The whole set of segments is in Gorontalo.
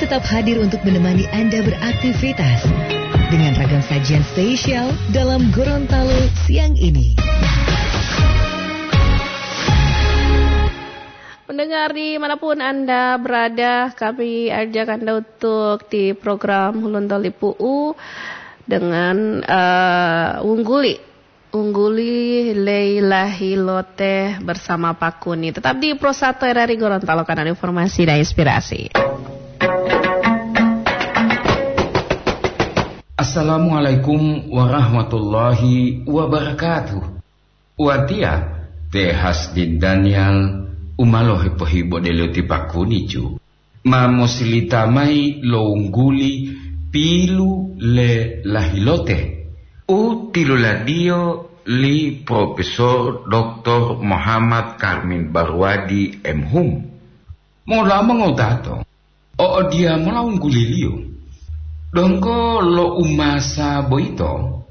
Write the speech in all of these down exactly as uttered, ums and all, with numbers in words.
Tetap hadir untuk menemani Anda beraktivitas dengan ragam sajian spesial dalam Gorontalo siang ini. Pendengar di manapun Anda berada, kami ajak Anda untuk di program Hulontali Pu'u dengan, eh, Wungguli. Ungguli Leila Hilote bersama Pak Kuni. Tetap di Pro satu R R I Gorontalo, kanal informasi dan inspirasi. Assalamualaikum warahmatullahi wabarakatuh. Watiya, te Hasdin Daniel, umalo hepohibodelo ti Pak Kuni ju. Ma mosilita mayi lo wungguli pilu le lahilote u tiluladiyo li Profesor Doktor Muhammad Karmin Barwadi, M Hum. Mola mongotato, o'odiya mola wungguliliyo. Donggo lo umasa boyito,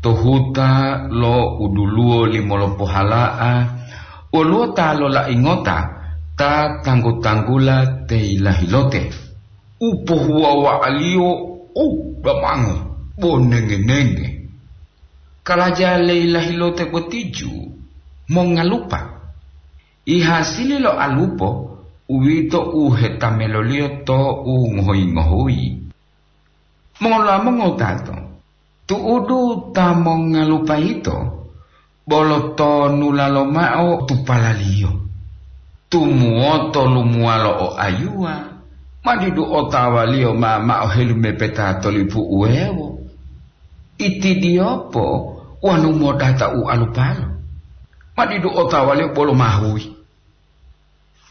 to huta lo uduluwo limolopohala'a, woluwo ta lolai ngota ta tanggu-tanggula te yilahilote, u pohuwawa'aliyo u damango bo nenge-nenge. Kalaja le yilahilote boti ju mongalupa. I hasili lo alupo, uwito u hetameloliyo to u ngohoyi-ngohoyi. Mola mongotato, tu'udu ta mongalupa yito, bolo tonula lomao tupalaliyo. Tumuwoto lumuwalo o ayuwa, ma didu otawaliyo ma mao helumepeta to lipu uwewo. Itidiyopo wonu modata u alupalo, ma didu otawaliyo bolo mahuyi.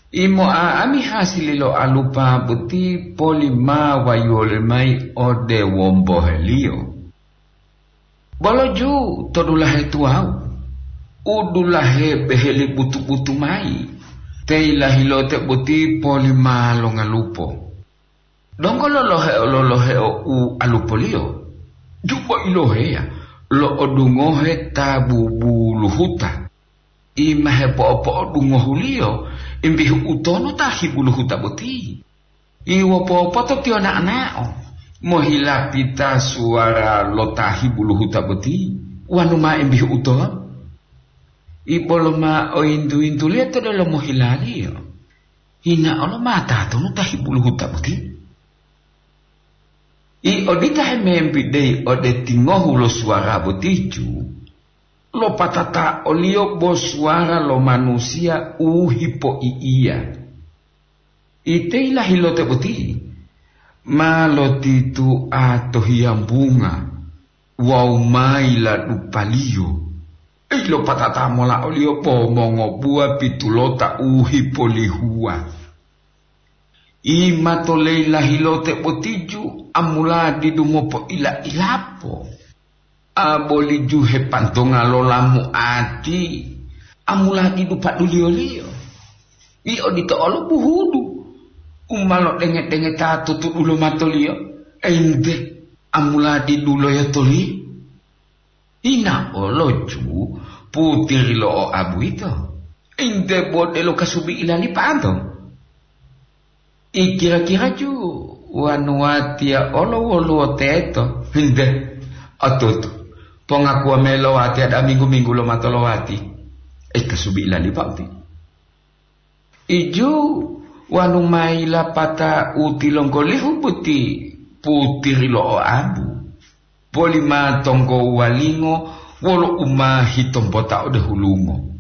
Imo'a'ami hasili lo alupa boti poli ma wayuwoliyo mayi ode womboheliyo. Bolo ju to dulahe tuwawu, u dulahe beheli butu-butu mayi, te yilahilote boti poli ma longalupo. Donggo loloheo-loloheo u alupoliyo, ju bo iloheya lo'odungohe ta bubuluhuta. I ma hepo'opo'odungohuliyo, imbihu utonu ta hibuluhuta boti. I wopopoto tiyo na'o-na'o, mohilapita suwara lo ta hibuluhuta boti, wanu ma imbihu utonu. I bolo ma oyintu-yintuliyo to delomo hilaliyo. Hina olo ma tatonu ta hibuluhuta boti? I odita hemembideyi ode tingohu lo suwara boti ju, lopatata oliyo bo suwara lo manusiya u hipoi'iya. Ite yilahilote boti ma lotitua to hiyambunga wawu ma yiladupaliyo. Ilopatata mola oliyo bo mongobuwa pitulota u hipolihuwa. I mato leyilahilote boti ju amula didu mopoila-ilapo. A boli ju hepantonga lo lamuati, amula didu paduliyoliyo. I odito olo buhudu u ma lodenge-dengeta to tudulo matoliyo, ente amula didu loyotoliyo. Ina olo ju putiri lo oabu yito, ente bo delo kasubi ilalipato. I kira-kira ju wanu watiya olo woluwo teto, ente otutu. Pongakuwa melo watiya da minggu-minggu lo mato lowati. E kasubi ilalipa uti. Iju wanu ma yilapata u tilonggolihu boti putiri lo oabu, boli ma tonggo walingo wolo u ma hitombota ode hulungo.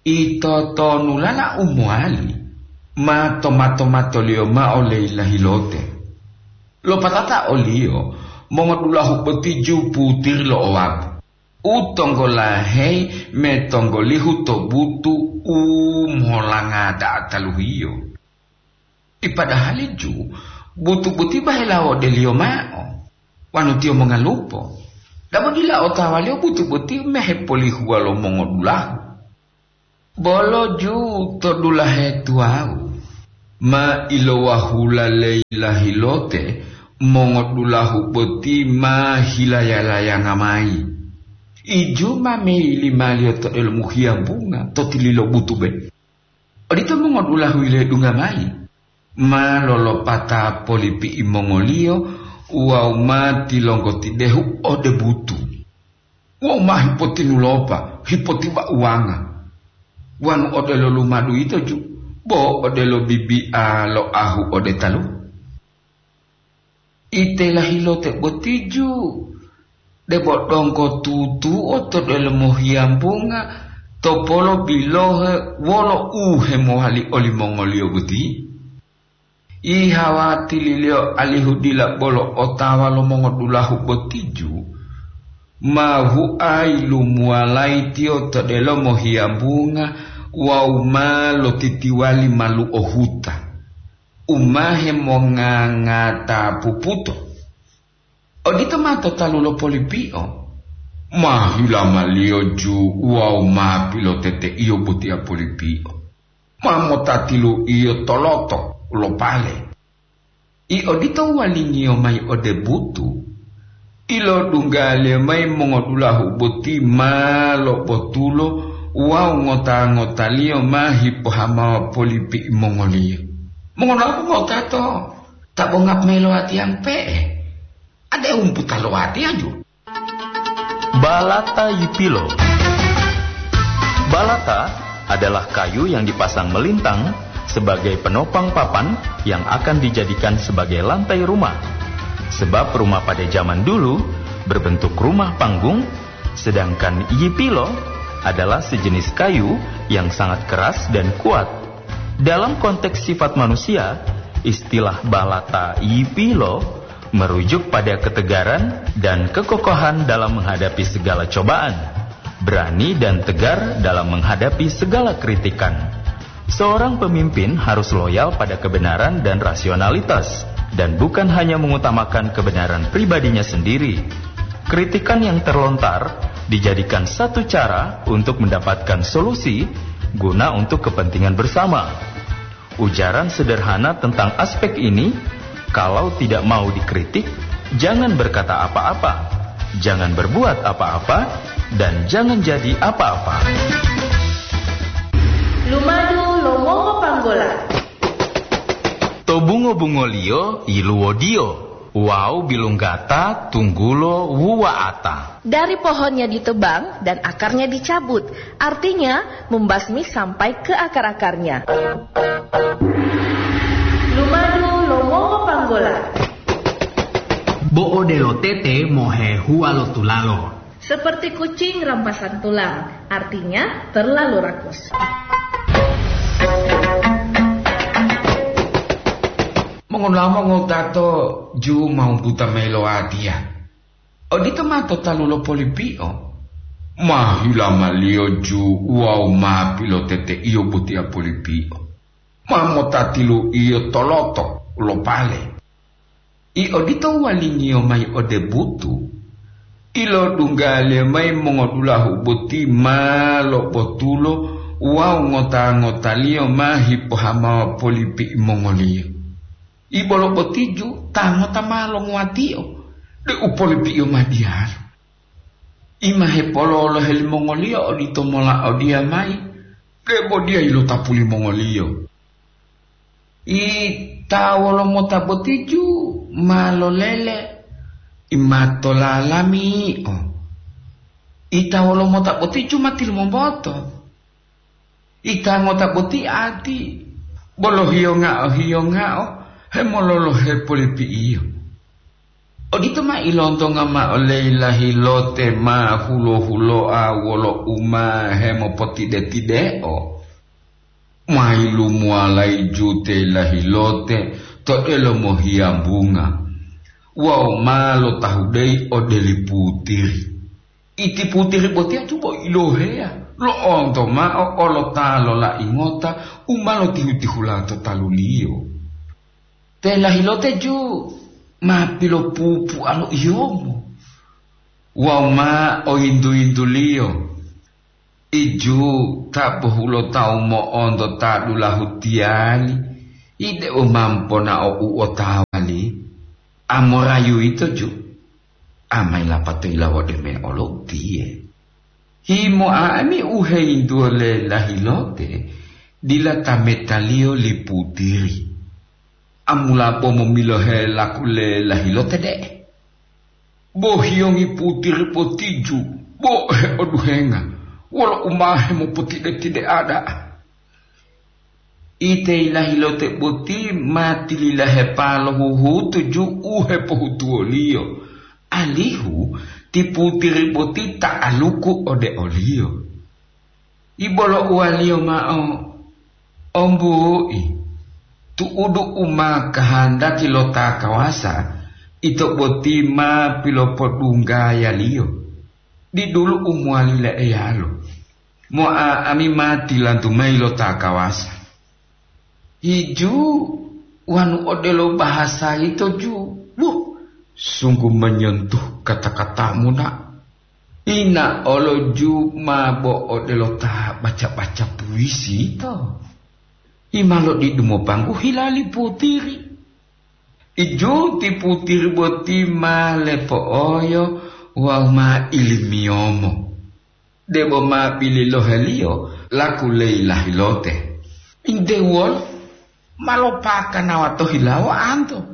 Ito tonulala u mowali ma toma-tomatoliyo mao leyilahilote. Lopatata oliyo mongodulahu boti ju putiri lo oabu. U tonggolaheyi metonggolihu to butu u molanga da'a taluhiyo. Ipadahali ju butu boti bahela wodeliyo mao, wanu tiyo mongalupo. Dabo dila otawaliyo butu boti mehepolihuwa lo mongodulahu. Bolo ju to dulahe tuwawu, ma ilowahula leyilahilote mongodulahu boti ma hilayalayanga mayi. Iju ma meyilimaliyo to delomu hiyambunga to tililo butube. Odito mongodulahu yiledungga mayi. Ma lolopata polipi'i mongoliyo wawu ma tilonggotidehu ode butu. Wawu ma hipotinulopa, hipotiba-uwanga. Wonu odelo lumadu yito ju, bo odelo bibi'a lo ahu ode talu. Itela hilote boti ju, debo donggo tutuo to delomo hiyambunga to polo bilohe wolo u hemowali olimongoliyo boti. Ihawatililiyo alihu dila bolo otawa lo mongodulahu boti ju, ma huayi lumuwalayi tiyo to delomo hiyambunga wawu ma lotitiwali maluo huta, u ma hemongangata puputo. Odito ma to talu lo polipio. Ma hilamaliyo ju wawu ma piloteteiyo botiya polipio. Ma motatilu'iyo toloto lo pale. I odito walingiyo mayi ode butu, ilodunggaliyo mayi mongodulahu boti ma lobotulo wawu ngota-ngotaliyo ma hipohamawa polipi'i mongoliyo. Mongonapu ngota to ta bongap mayi lo watiya pe'e? Ade umputa lo watiya ju. Balata yipilo. Balata adalah kayu yang dipasang melintang sebagai penopang papan yang akan dijadikan sebagai lantai rumah. Sebab rumah pada zaman dulu berbentuk rumah panggung, sedangkan yipilo adalah sejenis kayu yang sangat keras dan kuat. Dalam konteks sifat manusia, istilah balata yipilo merujuk pada ketegaran dan kekokohan dalam menghadapi segala cobaan, berani dan tegar dalam menghadapi segala kritikan. Seorang pemimpin harus loyal pada kebenaran dan rasionalitas, dan bukan hanya mengutamakan kebenaran pribadinya sendiri. Kritikan yang terlontar dijadikan satu cara untuk mendapatkan solusi guna untuk kepentingan bersama. Ujaran sederhana tentang aspek ini, kalau tidak mau dikritik, jangan berkata apa-apa, jangan berbuat apa-apa, dan jangan jadi apa-apa. Lumadu lo mongo panggola. To bungo-bungoliyo yiluwodiyo wawu bilunggata tunggulo wuwa'ata. Dari pohonnya ditebang dan akarnya dicabut, artinya membasmi sampai ke akar-akarnya. Lumadu lo mongo panggola. Bo odelo tete mohehuwa lo tulalo. Seperti kucing rampasan tulang, artinya terlalu rakus. Mongonamo ngotato ju mau buta mayi lo watiya. Odito ma to talu lo polipio. Ma hilamaliyo ju wawu ma piloteteiyo botiya polipio. Ma motatilu'iyo toloto lo pale. I odito walingiyo mayi ode butu, ilodunggaliyo mayi mongodulahu boti ma lobotulo wawu ngota-ngotaliyo ma hipohamawa polipi'i mongoliyo. Ibolo botiju ta ngota ma longuwatio, de'u polipi'iyo ma diyalu. I ma hepololohe limongoliyo odito mola odiya mayi, debo diya ilotapu limongoliyo. I ta wolomota botiju ma lolele, i ma tolalami'o. I ta wolomota botiju ma tilumomboto. Ita ngota boti ati, bolo hiyongao-hiyongao hemololohe polipi'iyo. Odito ma ilontonga mao leyi lahilote ma hulo-huloa wolo u ma hemopotide-tideo. Ma yilumuwalayi jute lahilote to delomo hiyambunga wawu ma lotahudeyi ode li putiri. Iti putiri botiya tubo iloheya lo'onto mao olo ta lolai ngota u ma lotihu-tihula to taluliyo. Te lahilote ju ma pilopupu'a lo iyomo wawu ma oyintu-yintuliyo. Iju ta bohulotawu mo'onto ta dulahu tiyali, ide u ma mponao u otawali. Amorayu yito ju, amayi lapato yilawode me'olo utiye. Himoa ami u heyintuwo le lahilote, dila ta metaliyo li putiri. Amula bo momilohe laku le lahilote de'e. Bo hiyongi putiri botiju, bo heoduhenga, wolo u ma hemopotide-tide'a da'a. Ite lahilote boti ma tililahepa lo huhutu ju u hepohutuwoliyo, alihu ti putiri boti ta'aluku ode oliyo. Ibolo uwaliyo mao, "Ombu'i, tu'udu u ma kahandaki lo ta kawasa, ito boti ma pilopodunggayaliyo. Didulu u mowali le'eyalo. Mo'a'ami ma tilantu mayi lo ta kawasa." Hiju wanu odelo bahasa yito ju, buh, sungguh menyentuh kata-katamu, nak. Ina olo ju ma bo odelo ta baca-baca puisi yito. Ima lodidu mopanggu hila li putiri. Iju ti putiri boti ma lepo'oyo wawu ma ilimiyomo. Debo ma bililoheliyo laku leyi lahilote. Inte wolo ma lopakanawa to hilawo anto.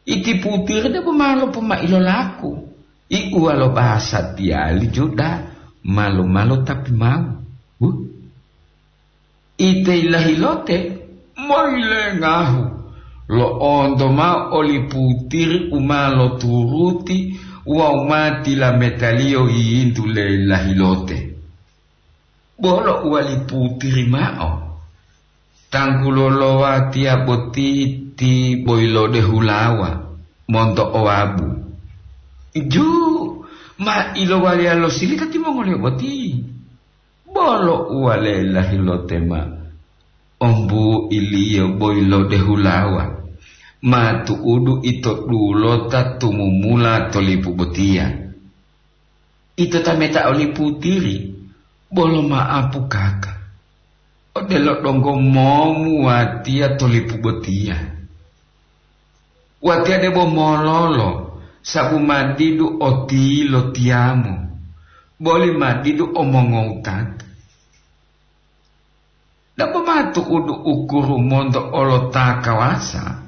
Iti putiri debo ma lopomai lo laku. Iuwa lo bahasa tiyali Juda, malu-malu tapi mau. Huh? Ite lahilote moyilengahu, lo'onto mao oli putiri u ma loturuti wawu ma tilametaliyo yiyintu le lahilote. Bolo uwali putiri mao, "Tanggulo lo watiya boti ti boyilode hulawa monto owabu." Ju ma ilowaliya lo silika timongoliyo boti. Bolo uwale lahilote ma, "Ombu'iliyo boyilode hulawa, ma tu'udu ito dulota tumumula to lipu botiya." Ito tameta oli putiri, bolo ma'apu kaka. Odelo donggo momu watiya to lipu botiya. Watiya debo mololo, sabu ma didu otilo tiyamo, boli ma didu omongowutata. Dabo ma tu'udu ukuru monto olota kawasa,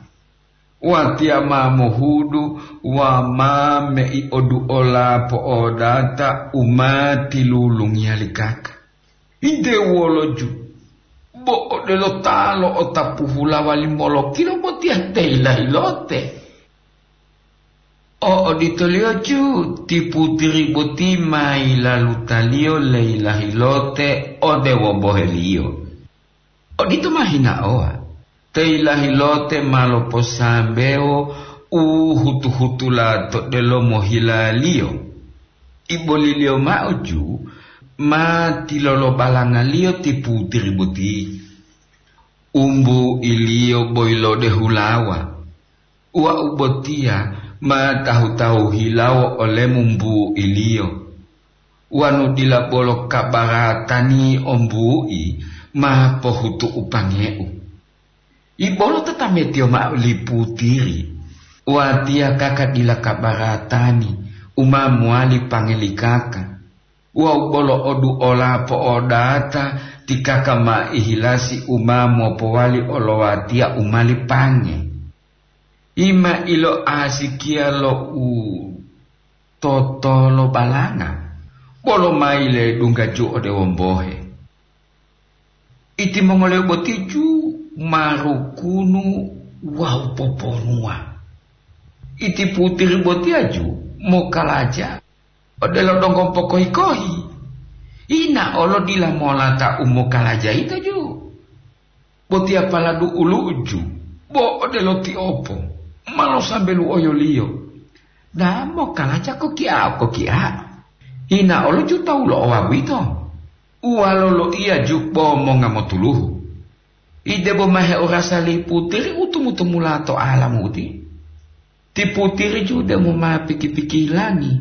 watiya ma mohudu wawu ma mei oduola po'odata u ma tilulungiya li kaka. Ide woloju, bo odelo ta lo'otapu hulawa limolokilo botiya te yilahilote. O oditoliyo ju ti putiri boti ma yilalutaliyo le yilahilote ode womboheliyo. Odito ma hinaowa, te yilahilote ma loposambewo u hutu-hutula to delomo hilaliyo. Iboliliyo mao ju ma tilolobalangaliyo ti putiri boti. Umbu'iliyo boyilode hulawa. Wau botiya ma tahu-tahu hilawo olemu mbu'iliyo. Wanu dila bolo kabaratani ombu'i ma pohutu'u pange'u. Ibolo tatametiyo mao li putiri, watiya kaka dila kabaratani u ma mowali pangelikaka. Wawu bolo oduola po'odata ti kaka ma ihilasi u ma mopowali olowatiya u ma lipange. Ima iloasikiya lo u totolobalanga, bolo ma yiledungga ju ode wombohe. Itimongoliyo boti ju ma rukunu wawu poponuwa. Iti putiri botiya ju mokalaja odelo donggo pokohi-kohi. Ina olo dila molata u mokalaja yito ju. Botiya pala du'ulu'u ju, bo odelo tiopo, ma losambelu'oyoliyo. Damo kalaja koki'a-koki'a. Hina olo ju tawu lo owa boyito. Uwalo loiya ju bo monga motuluhu. Idebo ma heorasa li putiri u tumu-tumula to alamu uti. Ti putiri ju demo ma piki-pikilangi.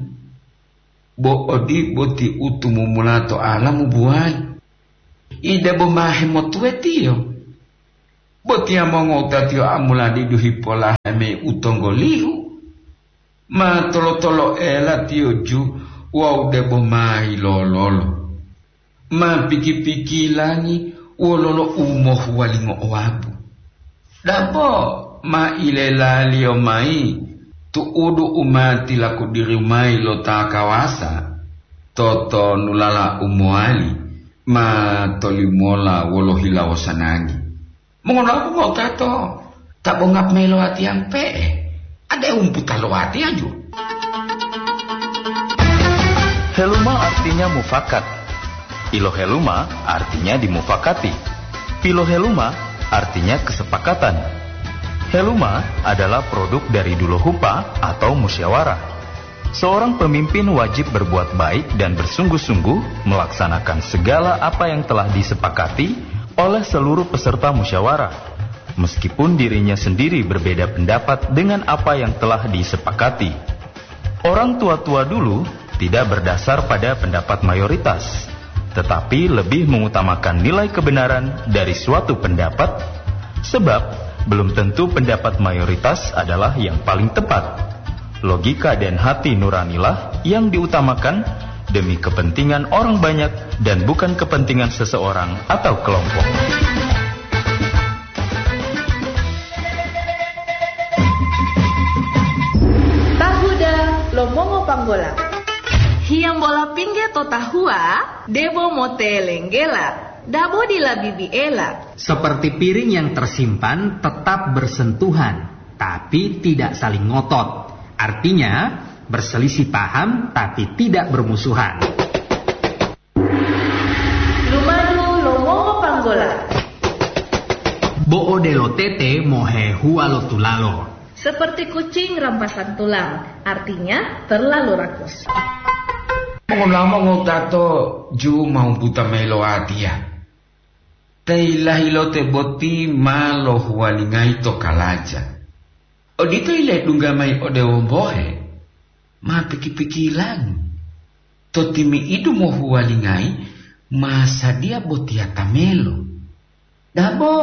Bo odibo ti u tumumula to alamu buwayi. Idebo ma hemotuwetiyo. Botiya mongowutatiyo amuladidu hipolahe mayi u tonggolihu. Ma tolo-toloela tiyo ju wawu debo ma yilololo. Ma piki-pikilangi wololo u mohuwalingo owabu. Dabo ma ilelaliyo mayi tu'udu u ma tilakudiri mayi lo ta kawasa, totonulala u mowali ma tolimola wolo hilawo sanangi. Mongonapu ngotato ta bongap mayi lo watiya mpe'e, ade umputa lo watiyaju. Heluma artinya mufakat. Piloheluma artinya dimufakati. Piloheluma artinya kesepakatan. Heluma adalah produk dari dulohupa atau musyawarah. Seorang pemimpin wajib berbuat baik dan bersungguh-sungguh melaksanakan segala apa yang telah disepakati oleh seluruh peserta musyawarah, meskipun dirinya sendiri berbeda pendapat dengan apa yang telah disepakati. Orang tua-tua dulu tidak berdasar pada pendapat mayoritas, tetapi lebih mengutamakan nilai kebenaran dari suatu pendapat, sebab belum tentu pendapat mayoritas adalah yang paling tepat. Logika dan hati nuranilah yang diutamakan demi kepentingan orang banyak dan bukan kepentingan seseorang atau kelompok. Tahuda lo mongo panggola. Hiyambola pingge to tahuwa, debo motelenggela, dabo dila bibiela. Seperti piring yang tersimpan tetap bersentuhan, tapi tidak saling ngotot. Artinya, berselisih paham tapi tidak bermusuhan. Lumadu lo mongo panggola. Bo odelo tete mohehuwa lo tulalo. Seperti kucing rampasan tulang, artinya terlalu rakus. Mongola mongotato ju mau buta mayi lo watiya. Te ilahilote boti ma lohuwalingayi to kalaja. Odito yiledungga mayi ode wombohe, ma piki-pikilangi. To timi'idu mohuwalingayi ma sadiya botiya tamelo. Dabo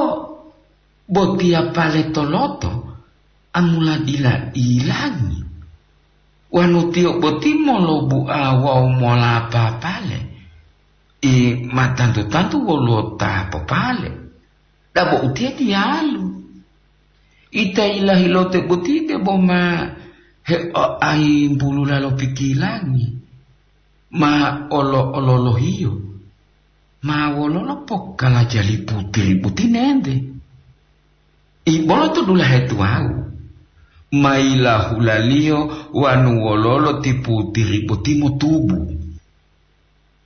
botiya pale toloto amula dila ilangi. Wanu tiyo boti molobua wawu molapa pale, i ma tantu-tantu woluwo ta popale. Dabo utiye diyalu. Ita ilahilote boti debo ma heoayimbulula lo pikilangi, ma olo-ololohiyo, ma wololo pokalajali putiri boti nente. Ibolo to dulahe tuwawu, ma yilahulaliyo wanu wololo ti putiri boti motubu.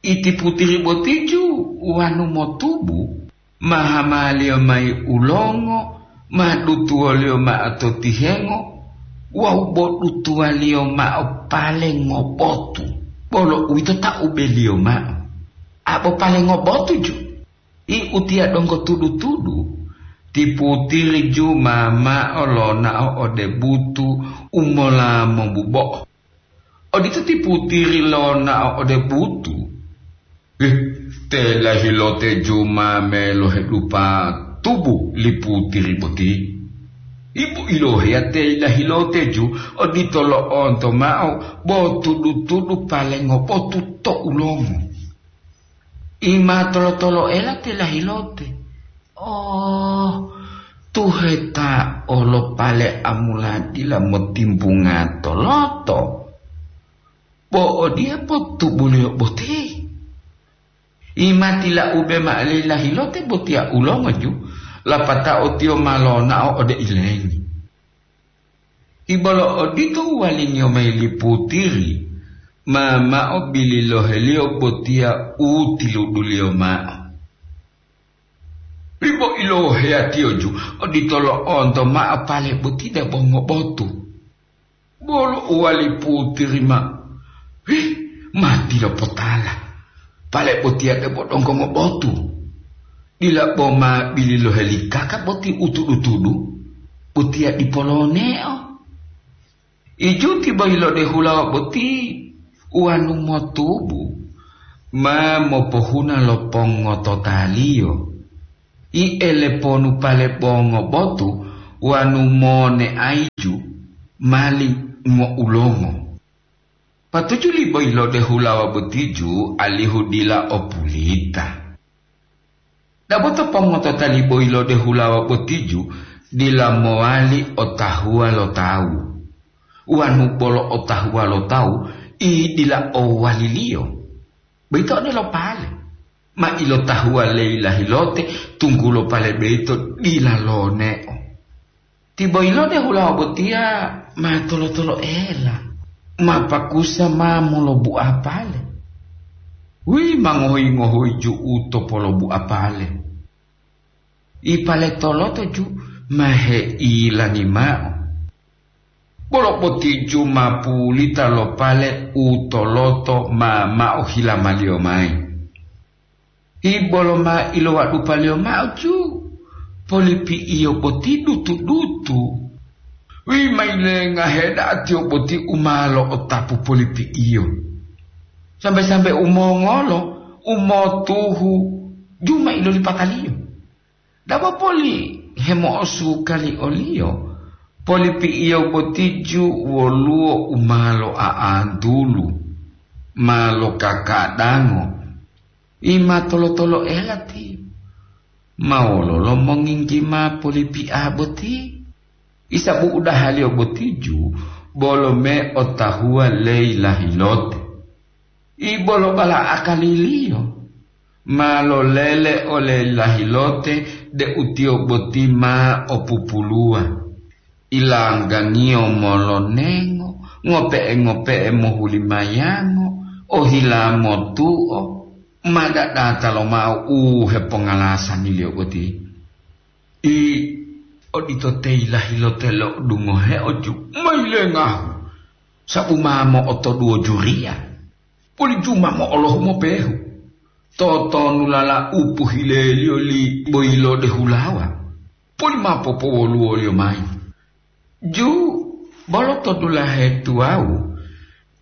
Iti putiri botiju wanu motubu, ma hamaliyo mayi ulongo, ma dutuwoliyo mao to tihengo, wawu bo dutuwaliyo mao pale ngobotu, bolo uwito ta ubeliyo mao. Abo pale ngobotu ju, i utiya donggo tudu-tudu, ti putiri ju ma mao lonao ode butu u mola mombubo'o. Odito ti putiri lonao ode butu. Ih, te lahilote ju ma melohedupa tubu li putiri boti. Ibu iloheya te lahilote ju odito lo'onto mao bo tudu-tudu pale ngobotu to ulomo. I ma tolo-toloela te lahilote. Oh, tuheta olo pale amula dila motimbunga toloto. Bo odiye potubuliyo boti. I ma tilaube mao li lahilote botiya ulongoju, lapatao tiyo ma lonao ode ilengi. Ibolo odito uwalingiyo mayi li putiri, ma mao bililoheliyo botiya u tiluduliyo mao. Bibo iloheyatiyoju odito lo'onto mao pale boti debo ngobotu. Bolo uwali putiri mao, "Hih, ma tilopotala! Pale botiya debo donggo ngobotu. Dila bo ma bililohe li kaka boti u tudu-tudu, botiya dipo loneo." Ijuti boyilode hulawa boti wanu motubu, ma mopohuna lo pongototaliyo. I eleponu pale bongo botu wanu moneaiju mali ngoulongo. Patuju li boyilode hulawa botiju alihu dila o pulita. Dabo to pongotota li boyilode hulawa botiju dila mowali otahuwa lo tawu, wanu bolo otahuwa lo tawu, i dila owaliliyo. Boyito odelo pale ma ilotahuwa leyi lahilote, tunggulo pale boyito dila loneo. Tiboyilode hulawa botiya ma tolo-toloela, ma pakusa ma molobu'a pale. Wi ma ngohoyi-ngohoyi ju'u to polobu'a pale. I pale toloto ju ma heilangi ma'o. Bolo botiju ma pulita lo pale u toloto ma ma'o hilamaliyo mayi. Ibolo ma ilowadupaliyo ma'o ju, polipi'iyo boti dutu-dutu. Wi ma yilenga heda'a tiyo boti u ma lo'otapu polipi'iyo. Sambe-sambe umongolo, umotuhu, ju ma ilolipataliyo. Dabo poli hemo'osuka li oliyo, polipi'iyo botiju woluwo u ma lo'a'antulu, ma lokakadango. I ma tolo-toloela tiyo. Ma wololo monginggi ma polipi'a boti? Isabu udahaliyo botiju bolo me otahuwa leyi lahilote. I bolo bala akaliliyo ma lolele ole lahilote deu tiyo boti ma opupuluwa. Ilanggangiyo molonengo, ngope'e-ngope'e mohulimayango, ohila motuo, ma dadata lomao u hepongalasangiliyo boti. I odito teyilahilote lo dungoheo ju ma yilengahu, sabu ma mo'otoduwo juriya, poli ju ma mo'olohu mopehu. Totonulala u pohileliyo li boyilode hulawa, poli ma popowoluwoliyo mayi. Ju bolo to dulahe tuwawu,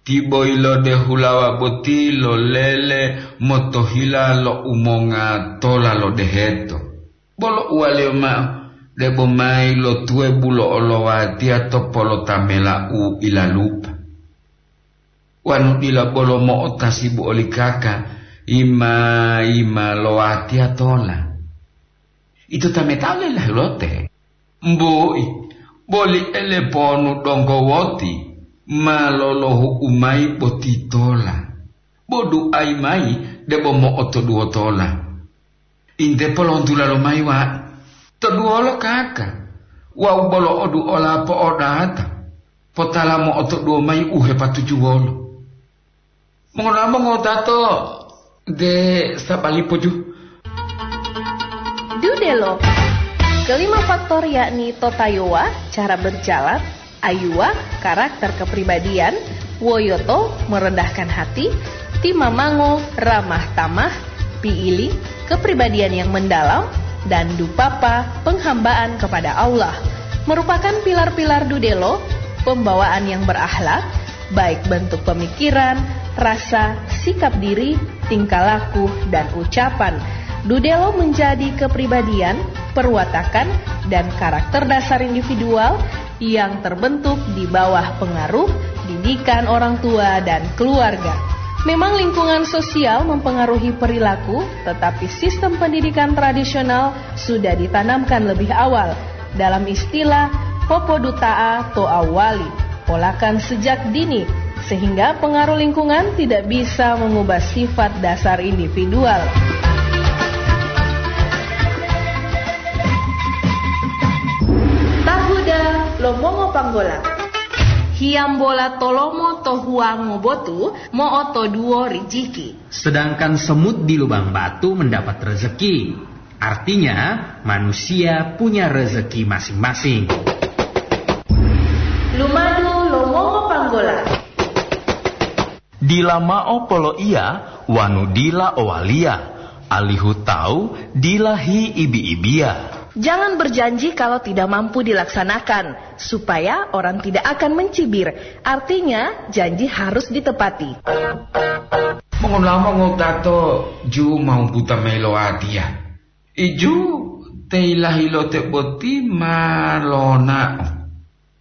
ti boyilode hulawa boti lolele motohila lo umonga tola lo deheto. Bolo uwaliyo ma'o, debo mayi lo tuwebu lo olowatiya to polotamela u ilalupa. Wanu dila bolo mo'otasibu oli kaka, yima-yima lowatiya tola. Ito tametao lelahulote. Mbui, boli eleponu donggo woti ma lolohu'u mayi botitola. Bo duayi mayi debo mo'otoduwotola. Inte polontula lomayi wa to duwolo kaka, wawu bolo oduola po'odata, potala mo'otoduwo mayi u hepatujuwolo. Mongona'a mongotato de sabali poju. Dudelo. Kelima faktor yakni totayowa, cara berjalan, ayuwa, karakter kepribadian, woyoto, merendahkan hati, timamango, ramah tamah, piili, kepribadian yang mendalam, dan dupapa, penghambaan kepada Allah, merupakan pilar-pilar dudelo, pembawaan yang berakhlak, baik bentuk pemikiran, rasa, sikap diri, tingkah laku, dan ucapan. Dudelo menjadi kepribadian, perwatakan, dan karakter dasar individual yang terbentuk di bawah pengaruh didikan orang tua dan keluarga. Memang lingkungan sosial mempengaruhi perilaku, tetapi sistem pendidikan tradisional sudah ditanamkan lebih awal. Dalam istilah popoduta'a to awali, polakan sejak dini, sehingga pengaruh lingkungan tidak bisa mengubah sifat dasar individual. Tahuda lo mongo panggola. Hiyambola tolomo to huwango botu mo'otoduwo rijiki. Sedangkan semut di lubang batu mendapat rezeki. Artinya, manusia punya rezeki masing-masing. Lumadu lo mongo panggola. Dila ma'o poloiya wanu dila owaliya, alihu tawu dila hiibi-ibiya. Jangan berjanji kalau tidak mampu dilaksanakan, supaya orang tidak akan mencibir. Artinya, janji harus ditepati. Mongonamo ngotato ju mau buta melo atiya. Iju te ilahilote boti ma lona'o.